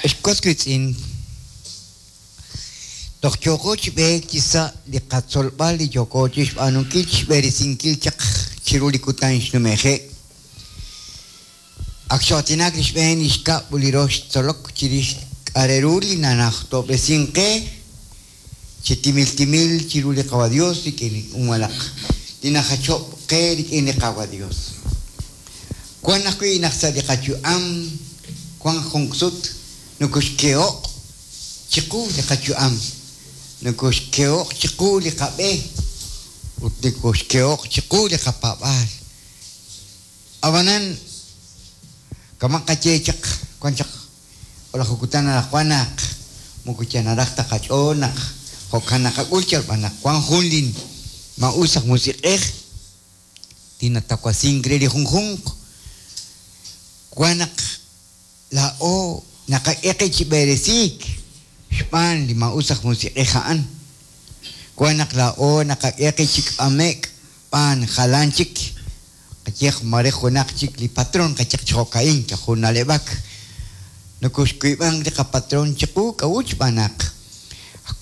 Ex was wiitz'in, toj yooko chi b'eek chi sa' li qatzolb'al li yooko chixb'aanunkil chixb'eresinkil chaq chiru li kutan xnume'je'. Ak xoo'aatinak li xb'een, li xkab' ut li rox tzolok chirix k'a' re ru li nanajtob'resink qe chi timil timil chiru li Qawa' Dios rik'in li malaj li najachob' qe rik'in li Qaawa' Dios. Wan ajwi' naq sa' li qayu'am wan junq sut nokoxkeho'q chiqu li qayu'am, nokoxkeho'q chiqu li qab'e ut nokoxkeho'q chiqu li qapaab'aal. Ab'anan, kama' qaye chaq wan chaq O'laju kutan anaqwan naq moko yal naraj ta qach'ool naq jo'kan naqak'ul yal b'an naq wan jun li maa'us aj musiq'ej li natawasink re li junjunq. Wan naq laa'o naqak'e qib' chi b'eresiik xb'aan li maa'us aj musiq'ej a'an. Wan naq laa'o naqak'e qib' chi k'ame'k b'aan jalan chik, qayehaq maare junaq chik li patron, qayehaq chi jo'ka'in, yal jun na'leb'ak. Nokoxwiib'ank li qapatron chiqu, k'a'ut? Xb'aan naq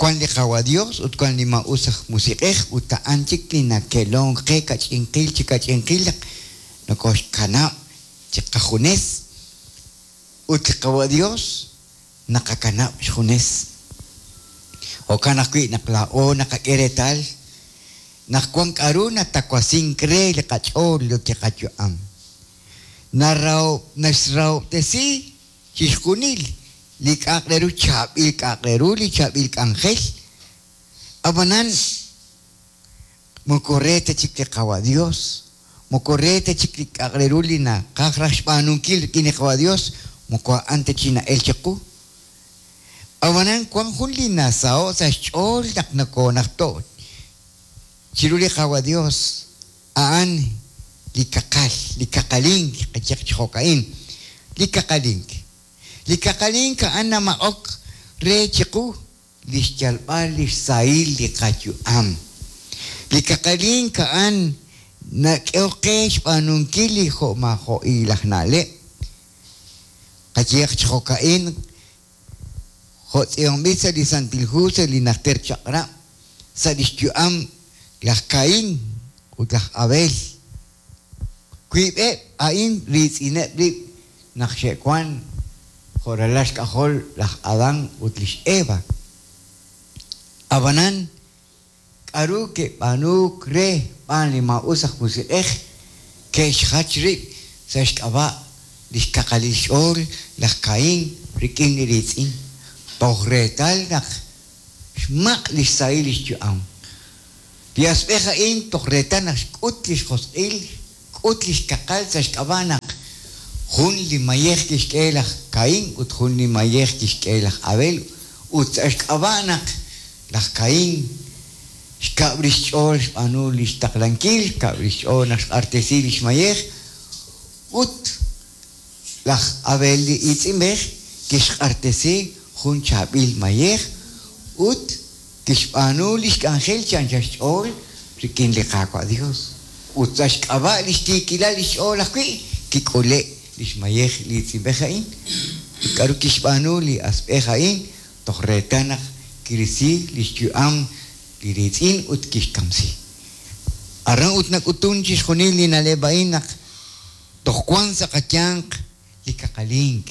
wan li Qaawa' Dios ut wan li maa'us aj musiq'ej ut a'an chik li nake'lonk qe kach'inqil chi kach'inqil naq nokoxkanab' chiqajunes ut li Qaawa' Dios naqakanab' xjunes. Jo'kan ajwi' naq laa'o naqak'e reetal naq wan k'a'ru natawasink re li qach'ool ut li qayu'am. Naxrahob'tesi chixjunil li k'a'aq re ru chaab'il k'a'aq re ru, li chaab'il k'anjel. Ab'anan moko re ta chik li Qawa' Dios, moko re ta chik li k'a'aq re ru li naqaj raj xb'aanunkil rik'in li Qawa' Dios, moko a'an ta chi na'el chiqu. Ab'anan wan jun li nasaho' sa' xch'ool naq nokoonajto' chiru li Qawa' Dios, a'an li kaqal, li kaqalink, qayehaq chi jo'ka'in, li kaqalink. Li kaqalink a'an namaq'ok re chiqu li xyalb'al li xsahil li qayu'am. Li kaqalink a'an nak'ehok qe xb'aanunkil li jo'maajo'il aj na'leb'. Qayehaq chi jo'ka'in, jo' tz'iib'anb'il sa' li Santil Hu sa' li Najter Chaq'rab', sa' lix yu'am laj Kain ut laj Abel. Wiib'eb' a'in riitz'ineb' rib' naq xe'wank jo' ralal xk'ajol laj Adán ut li x'Eva. Ab'anan, k'aru ke'b'aanuuk re xb'aan li maa'us aj musiq'ej? Ke'xjach rib' sa' xk'ab'a' li xkaqalil xch'ool laj Caín rik'in li riitz'in, toj reetal naq xmaq' li xsahil li xyu'am. Li asb'ej a'in toj reetal naq xk'ut li xjosq'il, xk'ut li xkaqal sa' xk'ab'a' naq jun li mayej kixk'e laj Caín ut jun li mayej kixk'e laj Abel ut sa' xk'ab'a' naq laj Caín xkab' rix xch'ool xb'aanu li xtaqlankil, xkab' rix xch'ool naq xq'artesi li xmayej ut Laj Abel li iitz'inb'ej kixq'artesi jun chaab'il mayej ut kixb'aanu lix k'anjel chi anchal xch'ool rik'in li Qaawa' Dios, ut sa' xk'ab'a' lix tiikilal lix ch'ool ajwi' kik'ule' lix mayej li iitz'inb'ej a'in. Ut k'a'ru kixb'aanu li asb'ej a'in toj reetal naq kirisi lix yu'am li riitz'in ut kixkamsi? Aran ut nak'utun chixjunil li na'leb' a'in naq Toj wank sa' qayanq li kaqalink.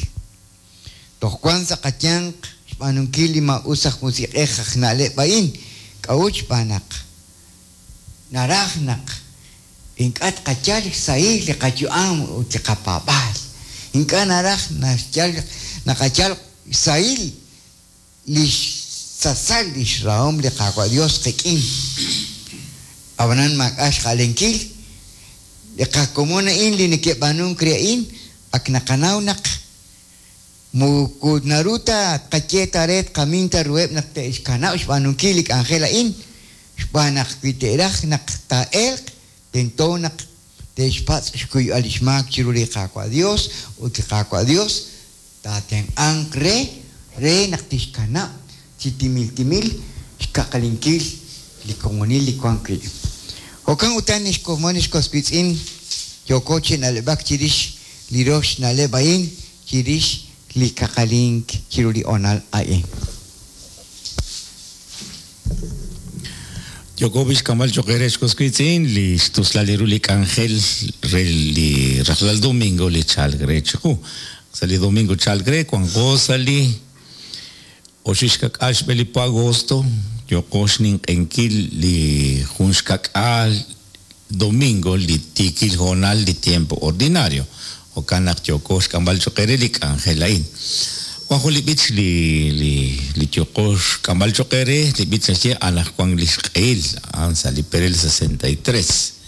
Toj wank sa' qayanq xb'aanunkil li maa'us aj musiq'ej aj na'leb' a'in. K'a'ut? Xb'aan naq naraj naq ink'a' tqayal xsahil li qayu'am ut li qapaab'aal. Ink'a' naraj naxyal naqayal xsahil li xsasal li xrahom li Qaawa' Yos qik'in. Ab'anan maak'a' xja'lenkil, li qakomon a'in li neke'b'aanunk re a'in ak naqanaw naq moko naru ta tqaye ta re tqamin ta ruheb' naq te'xkanab' xb'aanunkil li k'anjel a'in, xb'aan naq wi te'raj naq taa'elq tento naq te'xpatz' xkuyb'al li xmaak chiru li Qaawa' Yos ut li Qaawa' Yos Taatenq'anq re, re naq tixkanab' chi timil timil xkaqalinkil li komonil li wank wi'. Jo'kan utan ex komon ex was wiitz'in, yooko chi na'leb'ak chirix li rox na'leb' a'in chirix li kaqalink chiru li hoonal a'in. Yooko b'ixk'amb'al cho'q eere ex was wiitz'in li xtuslal ru li k'anjel re li rajlal domingo li chalk re chiqu. Sa' li domingo chalk re wanqo sa' li oxib' xka'k'aal xb'e li po agosto yooko xninq'ehinkil li jun xka'k'aal domingo li tiikil hoonal li tiempo ordinario. Jo'kan naq yooko xk'amb'al cho'q eere li k'anjel a'in. Wan jun li b'ich li li li yooko xk'amb'al cho'q eere, li b'ich naxye anaqwan li xq'ehil, a'an sa' li perel 63.